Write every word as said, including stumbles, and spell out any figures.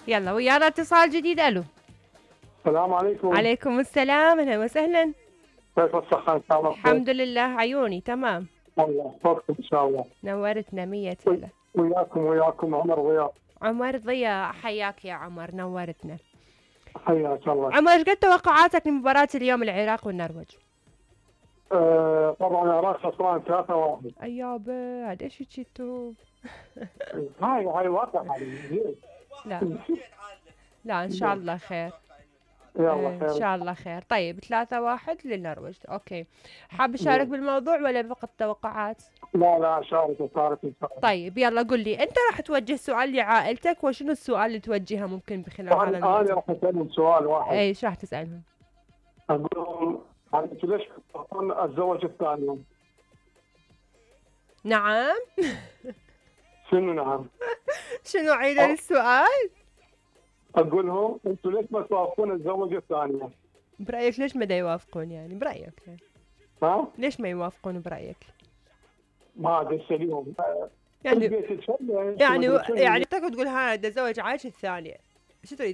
يلا ويانا اتصال جديد. الو السلام عليكم. عليكم السلام، اهلا وسهلا. كيف الصحة ان شاء الله؟ الحمد لله عيوني تمام. الله يحفظكم ان شاء الله. نورتنا مية هلا. وياكم وياكم عمر ضياء. عمر ضياء حياك يا عمر، نورتنا. حياك الله. عمر ايش قد توقعاتك لمباراة اليوم العراق والنرويج؟ آه طبعا العراق خسران ثلاثة واحد. ايابا عاد ايش هيك توب. هاي هاي واقع. لا لا ان شاء الله خير. يلا خير ان شاء الله خير. طيب ثلاثة واحد للنرويج. اوكي، حاب اشارك بالموضوع ولا فقط توقعات؟ لا لا شارك شارك ان شاء الله. طيب يلا قل لي انت راح توجه سؤال لعائلتك، وشنو السؤال اللي توجهه ممكن بخلال هذا الموضوع؟ انا راح اسالهم سؤال واحد. ايش راح تسالهم؟ اقول لهم انتوا ليش تختارون الزوج الثاني؟ نعم. شنو نعم؟ شنو عيد السؤال؟ اقول لهم انتوا ليش ما توافقون الزوجة الثانية؟ برايك ليش ما دا يوافقون يعني برايك؟ ها؟ ليش ما يوافقون برايك؟ ما ادري ايش اليوم يعني يعني يعني تقعد تقول ها دا زوج عايش الثانية، شو تريد